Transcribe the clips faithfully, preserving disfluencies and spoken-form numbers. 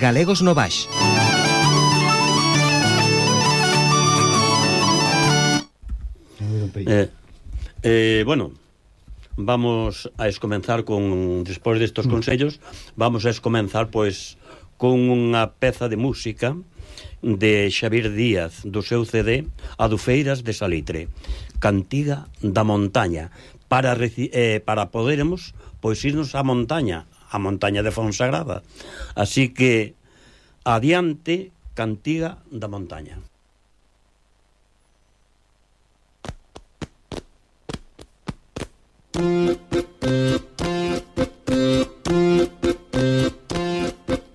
Galegos no Baix. Eh, eh, bueno, vamos a escomenzar con, despois destos consellos, vamos a escomenzar, pois, con unha peza de música de Xavier Díaz, do seu C D Adufeiras de Salitre, Cantiga da Montaña, para, eh, para podermos, pois, irnos á montaña, a montaña de Fonsagrada. Así que, adiante, Cantiga da Montaña.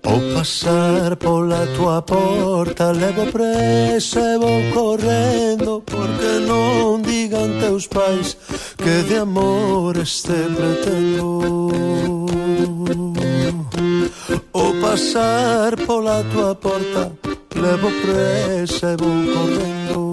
Ao pasar pola tua porta levo presa e vou correndo, porque non digan teus pais que de amor este pretendo. Ao pasar pola tua porta levo presa e vou correndo.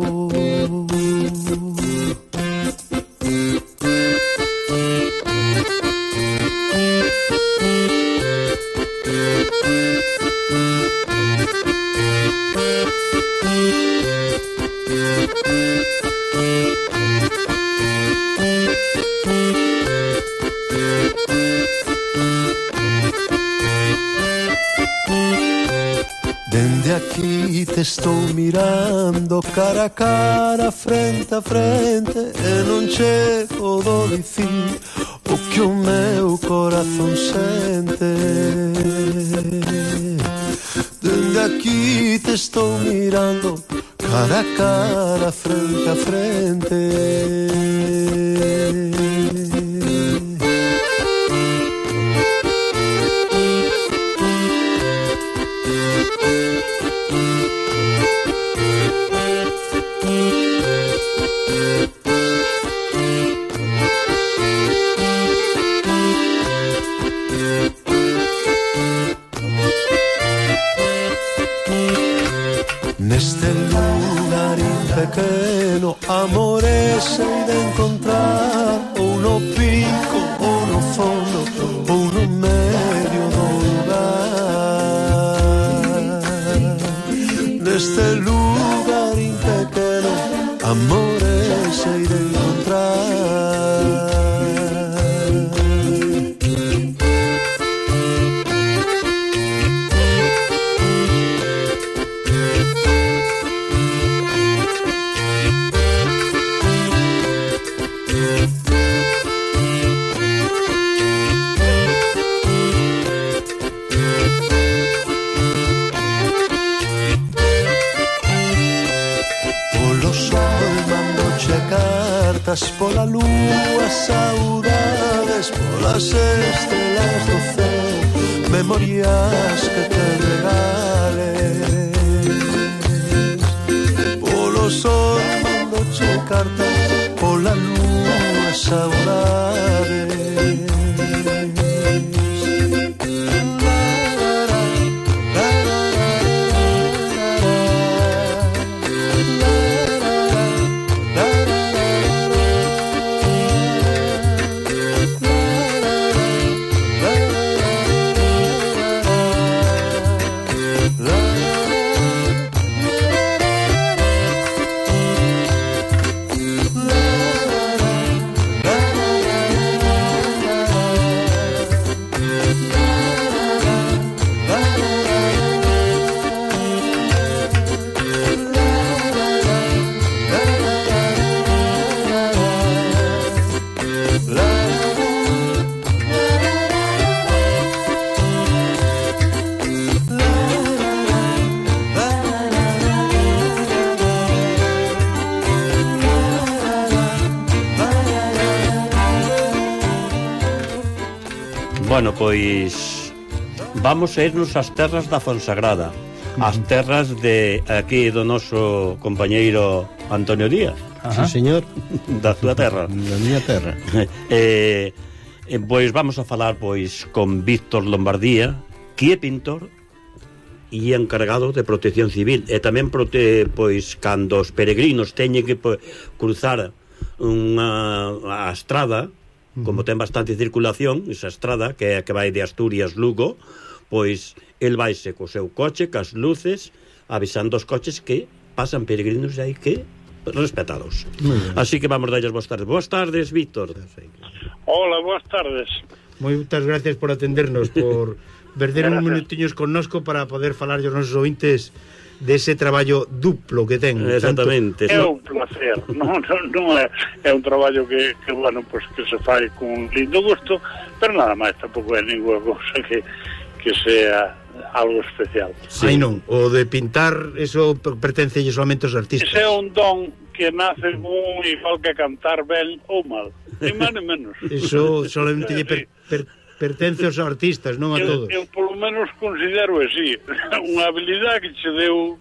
Dende aquí te estou mirando cara a cara, frente a frente, e non chego do dicir o que o meu corazón sente. Dende aquí te estou mirando cara a cara, frente a frente. Neste lugarín pequeno, amores hei de encontrar, ou no pico, ou no fondo, ou no medio do lugar. Neste lugarín pequeno, amores hei de encontrar. Cartas pola lúa, saudades polas estrelas do céu, memorias que te regales. Polo sol mandoche cartas, pola lúa, saudades. Bueno, pois vamos a irnos ás terras da Fonsagrada, as terras de aquí do noso compañeiro Antonio Díaz. Sí, señor. Da súa terra. Da miña terra. eh, eh, pois vamos a falar pois con Víctor Lombardía, que é pintor e encargado de protección civil, e tamén prote, pois cando os peregrinos teñen que pois, cruzar unha a estrada, como ten bastante circulación, esa estrada que, que vai de Asturias Lugo, pois el vaise co seu coche, cas luces, avisando os coches que pasan peregrinos e hai que respetalos. Así que vamos darles boas tardes. Boas tardes, Víctor. Hola, boas tardes. Moitas gracias por atendernos, por perder uns minutiños connosco para poder falar aos nosos ointes dese traballo duplo que ten. Exactamente. É un placer. Non, non, non é, é un traballo que, que bueno, pues que se fai con un lindo gusto, pero nada máis, tampouco é ninguna cousa que, que sea algo especial. Sí. Ai non, o de pintar, eso pertence solamente aos artistas. Ese é un don que nace un igual que cantar ben ou mal, ni máis ni menos. Eso solamente lle per, per, pertence aos artistas, non a eu, todos. Eu polo menos considero así, unha habilidade que che deu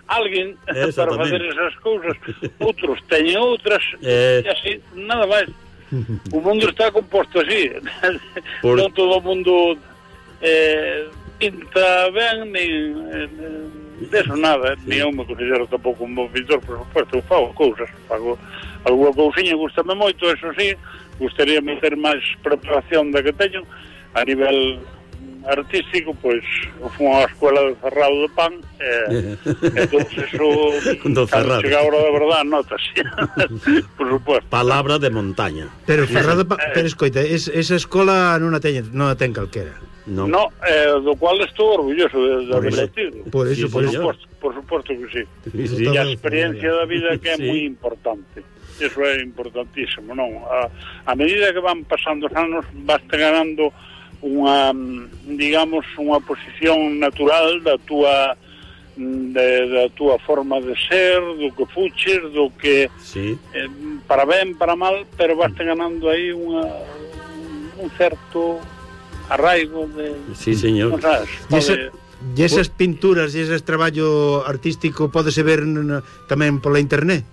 alguén para fazer esas cousas. Outros teñen outras, eh... e así, nada máis. O mundo está composto así. Por... Non todo o mundo eh, pinta ben, nin eh, deso nada, sí. Ni eu me considero tampouco un bom pintor, por supuesto, eu fago cousas, fago alguna cousiña, gustame moito, eso sí, gustaría meter máis preparación da que teño a nivel artístico, pois fui á escola de Cerrado de Pan e entón eso cando chega a hora da verdade notas por supuesto. Palabra de montaña. Pero Cerrado de Pan, pero escoita, es, esa escola non a ten, non a ten calquera. No, no eh, do cual estou orgulloso de, de haber tido. Por eso, sí, por, por eso. Supuesto, por supuesto que sí. Sí, sí. E a experiencia da vida que é sí. moi importante. Eso é importantísimo, non? A, a medida que van pasando os anos, vaste ganando unha, digamos, unha posición natural da túa de, da túa forma de ser, do que fuches, do que sí. eh, para ben, para mal, pero vaste ganando aí unha, un certo arraigo de... Sí, señor. Sabes, e, esa, e esas pinturas e ese traballo artístico pódese ver tamén pola internet?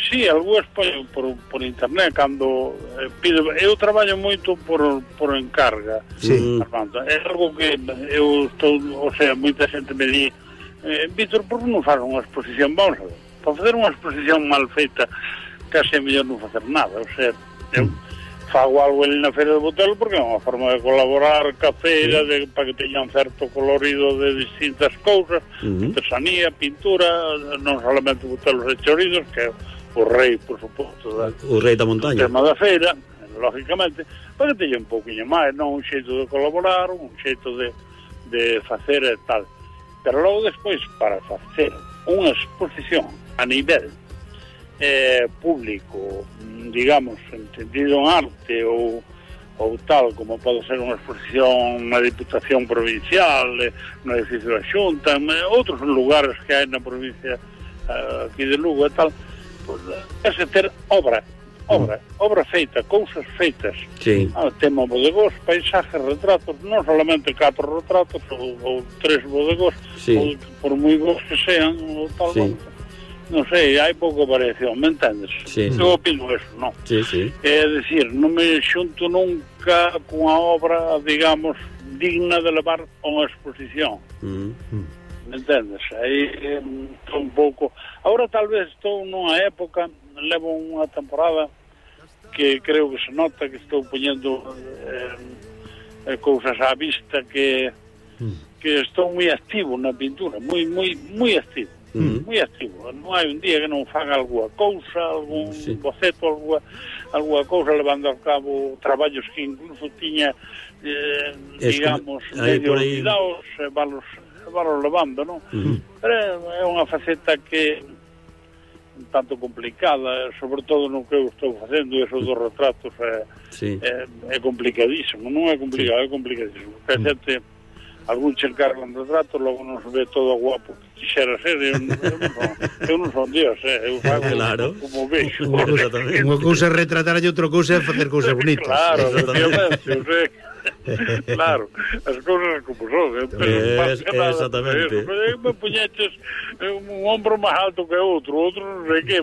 Sí, algúas por, por, por internet cando eh, pido, eu traballo moito por, por encarga. Sí. Armando. É algo que eu estou, o sea, moita xente me di eh, Víctor, por que non faz unha exposición? Vamos a ver, para fazer unha exposición mal feita case é mellor non facer nada, o sea, eu fago algo ali na Feira de Botelo porque é unha forma de colaborar ca feira, de, para que teñan certo colorido de distintas cousas, uh-huh. artesanía, pintura, non solamente botelos e chorizos, que é o rei, por suposto, da, o rei da montaña, o tema da feira, lógicamente, para que teña un pouquinho máis, non un xeito de colaborar, un xeito de, de facer e tal. Pero logo despois, para facer unha exposición a nivel eh, público, digamos, entendido en arte ou, ou tal, como pode ser unha exposición na Diputación Provincial, eh, no edificio da Xunta, en outros lugares que hai na provincia eh, aquí de Lugo e tal, pues, é ter obra, obra, mm. obra feita, cousas feitas. Sí. Ah, tema bodegós, paisajes, retratos, non solamente catro retratos ou, ou tres bodegós, sí. ou, por moi bons que sean, ou tal, sí. Non sei, hai pouca variación, me entendes? Sí, sí. Eu opino eso, non? Sí, sí. É dicir, non me xunto nunca cunha obra, digamos, digna de levar a unha exposición. Mm. Me entendes? Aí estou un pouco... Agora tal vez estou nunha época, levo unha temporada que creo que se nota que estou poñendo eh, cousas á vista que mm. que estou moi activo na pintura, moi moi moi activo. Mm. Moi activo, non hai un día que non faga algunha cousa, algún sí. boceto, algunha, algunha cousa, levando a cabo traballos que incluso tiña eh, digamos, medio olvidados, e valos, valos levando, non? Mm. Pero é unha faceta que un tanto complicada, sobre todo no que eu estou facendo, eso dos retratos é, sí. é, é complicadísimo, non é complicado, sí. é complicadísimo, porque a xente algún che encarga un retrato, logo non se ve todo guapo que quixera ser, eu, eu, non, son, eu non son Dios, eh? eu fago claro. como vexo. Unha cousa é retratar e outra cousa é facer cousas bonitas. Claro, efectivamente, eu sei. Claro, as cousas como son, eh? Pero es, nada, exactamente. Pero me puñeches un ombro máis alto que outro, outro non sei que.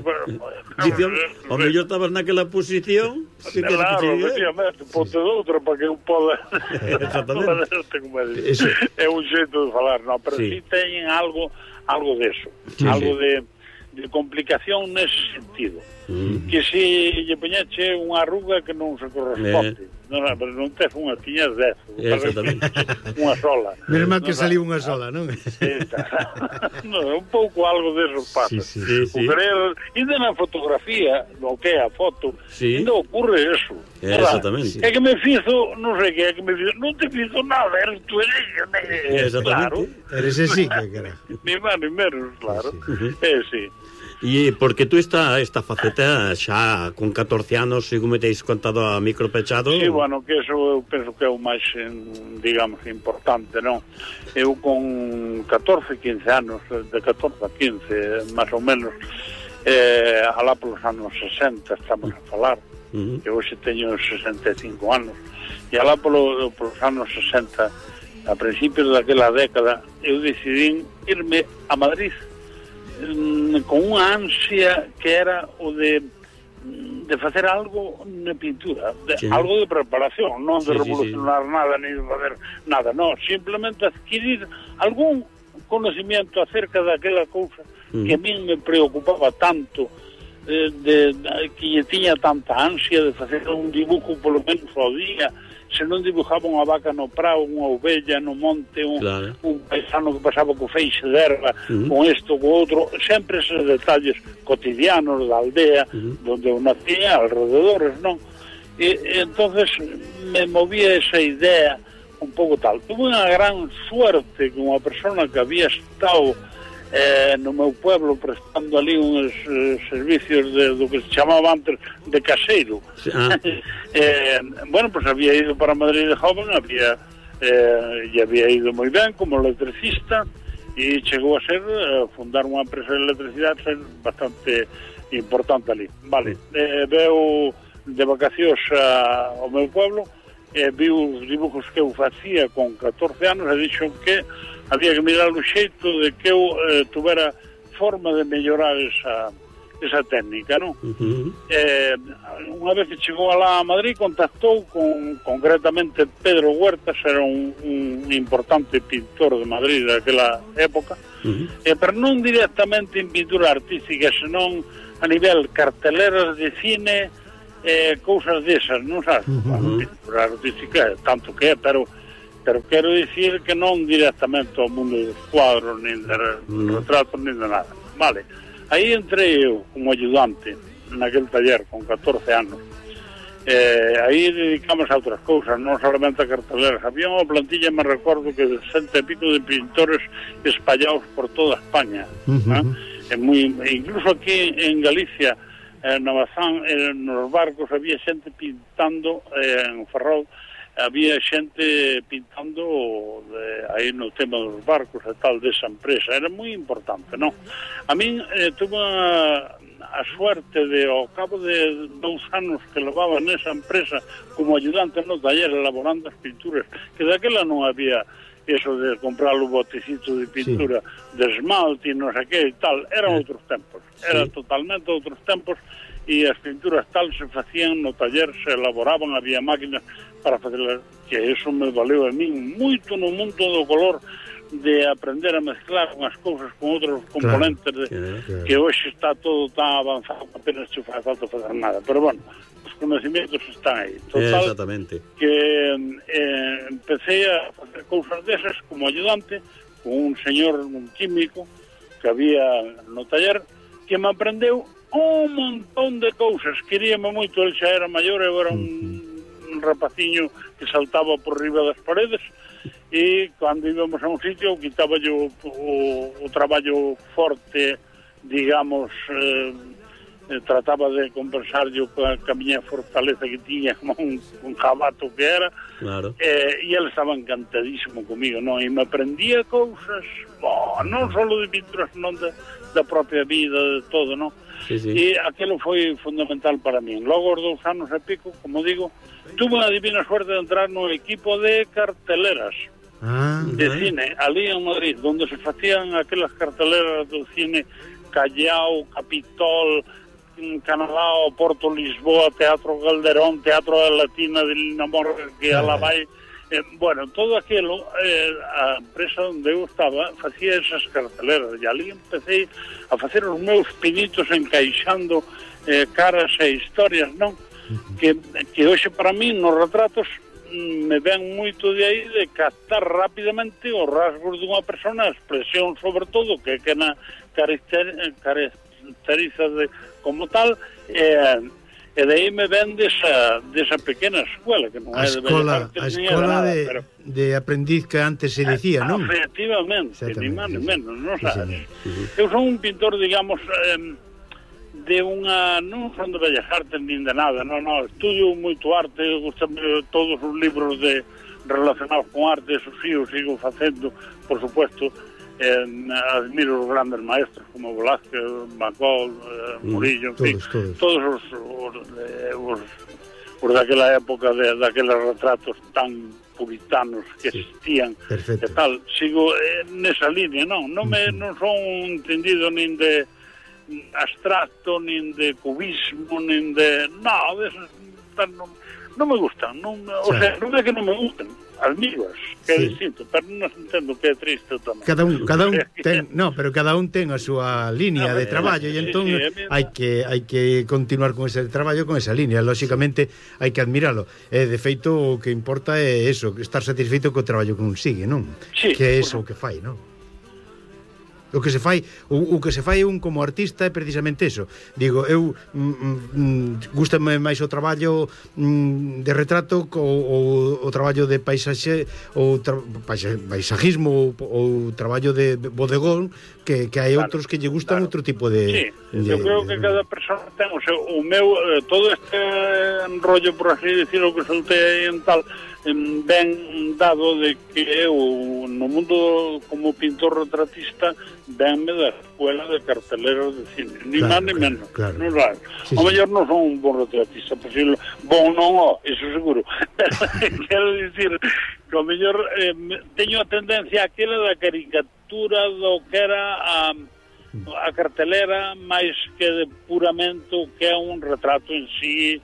Dicían, o mellor estabas naquela posición, que claro, efectivamente, ponte doutra para que eu poda. Exactamente. É un xeito de falar, non, pero si sí. sí teñen algo, algo de eso, sí, algo sí. de de complicación nese sentido, mm. que se lle poñeche unha arruga que non se corresponde. Eh. non, pero non tes unha, tiñas dez. Exactamente. Unha sola. Menos mal que non, saliu unha sola, non? No, un pouco algo deso pasa. Sí, sí, sí, O sí. querer, ainda na fotografía, no que é a foto, Sí. ainda ocurre eso. Exactamente. É que me fizo, non sei que é que me fizo, non te fizo nada, eres tú eres, Exactamente. claro. Eres ese, que cara. Ni máis ni menos, claro. Sí, sí. Eh, sí. E porque tú esta, esta faceta xa con catorce anos, segundo me teis contado a micro pechado. Sí, bueno, que eso eu penso que é o máis, digamos, importante, non? Eu con catorce, quince anos, de catorce a quince, máis ou menos, eh, alá polos anos sesenta estamos a falar, Uh-huh. que hoxe teño sesenta e cinco anos, e alá polo, polos anos sesenta, a principios daquela década, eu decidín irme a Madrid con unha ansia que era o de de facer algo na pintura, de, sí. algo de preparación, non de sí, revolucionar sí, sí. nada, ni de fazer nada, non, simplemente adquirir algún conocimiento acerca daquela cousa uh-huh. que a min me preocupaba tanto, eh, de, de, que tiña tanta ansia de facer un dibujo polo menos ao día, se non dibujaba unha vaca no prado, unha ovella no monte, un, claro. un paisano que pasaba co feixe de erva, uh-huh. con isto, co outro, sempre esos detalles cotidianos da aldea, uh-huh. donde eu nacía, alrededores, non? E, e entonces me movía esa idea un pouco tal. Tuve unha gran suerte que unha persona que había estado eh, no meu pueblo prestando ali uns eh, servicios de, do que se chamaba antes de caseiro. Ah. eh, bueno, pues había ido para Madrid de joven, había eh, e había ido moi ben como electricista e chegou a ser eh, fundar unha empresa de electricidade ser bastante importante ali. Vale, eh, veo de vacacións a, ao meu pueblo, eh, vi os dibujos que eu facía con catorce anos e dixo que había que mirar o xeito de que eu eh, tuvera forma de mellorar esa, esa técnica, non? Uh-huh. Eh, unha vez que chegou alá a Madrid contactou con, concretamente Pedro Huertas, era un, un importante pintor de Madrid daquela época, uh-huh. eh, pero non directamente en pintura artística, senón a nivel carteleras de cine, eh, cousas desas, non sabes? Uh-huh. Bueno, pintura artística, tanto que é, pero pero quero dicir que non directamente ao mundo dos cuadros, nin de uh-huh. retratos, nin de nada. Vale, aí entrei eu como ayudante naquel taller con catorce anos. Eh, aí dedicamos a outras cousas, non solamente a carteleras. Había unha plantilla, me recordo, que de cento e pico de pintores espallados por toda España. Uh-huh. eh? É moi, incluso aquí en Galicia, eh, no Bazán, eh, nos barcos había xente pintando, eh, en Ferrol, había xente pintando de, aí no tema dos barcos e tal desa empresa, era moi importante, non? A min eh, tuve a, a suerte de, ao cabo de dous anos que levaba nesa empresa como ayudante no taller elaborando as pinturas, que daquela non había eso de comprar o botecito de pintura sí. de esmalte e non sei que e tal, eran outros tempos, eran sí. totalmente outros tempos, e as pinturas tal se facían no taller, se elaboraban, había máquinas para facerlas, que eso me valeu a min moito no mundo do color, de aprender a mezclar unhas cousas con outros componentes, claro, de, claro. que hoxe está todo tan avanzado que apenas se faz falta fazer nada, pero bueno, os conocimientos están aí. Total, exactamente. Que eh, empecé a facer cousas desas como ayudante con un señor, un químico que había no taller, que me aprendeu un montón de cousas. Queríame moito, el xa era maior, eu era un un rapaciño que saltaba por riba das paredes, e cando íbamos a un sitio quitaba yo o, o traballo forte, digamos, eh, trataba de compensar yo ca, ca miña fortaleza que tiña como un, un jabato que era, claro. eh, e ele estaba encantadísimo comigo, non? E me aprendía cousas, oh, non só de pintura, senón de, da propia vida, de todo, non? Sí, sí. E aquilo foi fundamental para mí. Logo, os dous anos e pico, como digo, tuve unha divina suerte de entrar no equipo de carteleras ah, de uh-huh. cine, ali en Madrid, donde se facían aquelas carteleras do cine Callao, Capitol, Canadá, Porto, Lisboa, Teatro Calderón, Teatro da Latina de Linamor, que a la vai. Eh, bueno, todo aquilo, eh, a empresa onde eu estaba facía esas carteleras, e ali empecé a facer os meus pinitos encaixando eh, caras e historias, non? que, que hoxe para mí nos retratos me ven moito de aí de captar rapidamente os rasgos dunha persona, a expresión sobre todo que que na caracteriza de, como tal, e, e de aí me ven desa, desa pequena escuela que non é de escola, Bellas Artes, a escola nada, de, pero, de aprendiz que antes se dicía, non? Efectivamente, ni máis ni menos, non sí, sabes. Eu son un pintor, digamos, eh, de unha, non son de Bellas Artes nin de nada, non, non, estudio moito arte, gustame todos os libros de relacionados con arte, eso sí, o sigo facendo, por supuesto, eh, admiro os grandes maestros como Velázquez, Macol, eh, Murillo, en fin, todos, todos. todos os, os, eh, os, os daquela época, de, daqueles retratos tan puritanos que sí, existían, perfecto. E tal, sigo eh, nesa línea, non, non, me, non son entendido nin de abstracto, nin de cubismo, nin de... No, de esos, non, non me gustan, non, o sea, non é que non me gustan, admiras, que sí, é distinto, pero non entendo que é triste tamén. Cada un, cada un ten, no, pero cada un ten a súa línea no, de traballo e entón sí, sí, hai que hai que continuar con ese traballo, con esa línea, lógicamente hai que admiralo. E de feito o que importa é eso, estar satisfeito co traballo que un sigue, non? Sí, que é eso o que fai, non? O que se fai, o, o que se fai un como artista é precisamente eso. Digo, eu mm, mm, gústame máis o traballo mm, de retrato co, o, o traballo de paisaxe, o tra, paisajismo ou o traballo de bodegón, que, que hai claro, outros que lle gustan claro. Outro tipo de... Sí, de, eu creo que cada persona ten o seu, o meu, eh, todo este enrollo, por así decirlo, que soltei en tal, ben dado de que eu no mundo como pintor retratista venme da escuela de carteleros de cine, ni claro, máis ni menos, claro, non claro. Sí, o mellor sí, non son un bon retratista, posible, bon non o, eso seguro. Quero dicir que o mellor eh, teño a tendencia aquela da caricatura do que era a, a cartelera máis que de puramento que é un retrato en sí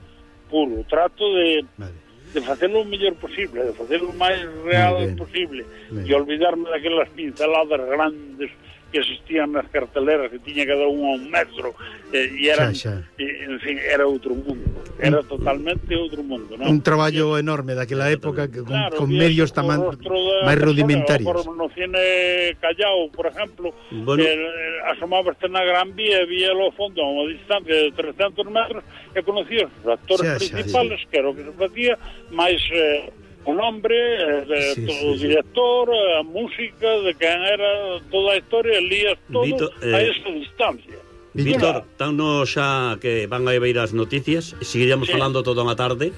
puro, trato de vale, de facelo o mellor posible, de facelo o máis real posible, e olvidarme daquelas pinceladas grandes que existían nas carteleras, que tiña cada unha un metro, eh, e eran, xa, xa. E, en fin, era outro mundo, era totalmente outro mundo, non? Un traballo e, enorme daquela época, que, con, claro, con medios tamén máis rudimentarios. No cine Callao, por exemplo, bueno, eh, asomabaste na Gran Vía e vía ao fondo a unha distancia de trescentos metros e conocías os actores xa, principales, xa, que era o que se facía, máis... Eh, o nombre, eh, sí, todo sí, o director, a música, de quen era toda a historia, lías todo Vito, eh, a esa distancia. Víctor, tan no xa que van a ver as noticias, seguiríamos sí, falando toda unha tarde,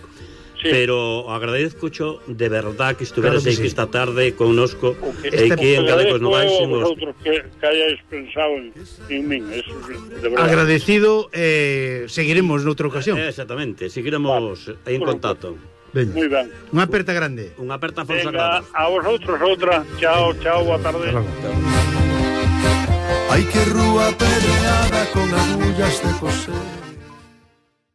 sí, pero agradezcocho de verdad que estuveras claro que aquí sí, esta tarde connosco e aquí en Galegos Novais e vosotros que, que hayáis pensado en, en min, eso de verdad. Agradecido, eh, seguiremos noutra ocasión. Eh, exactamente, seguiremos vale, en bueno, contacto. Veña. Muy ben. Unha aperta grande. Unha aperta fonsagrada. A vosotros outra. Chao, chao, boa tarde. Hai que rúa pedreada con agullas de coser.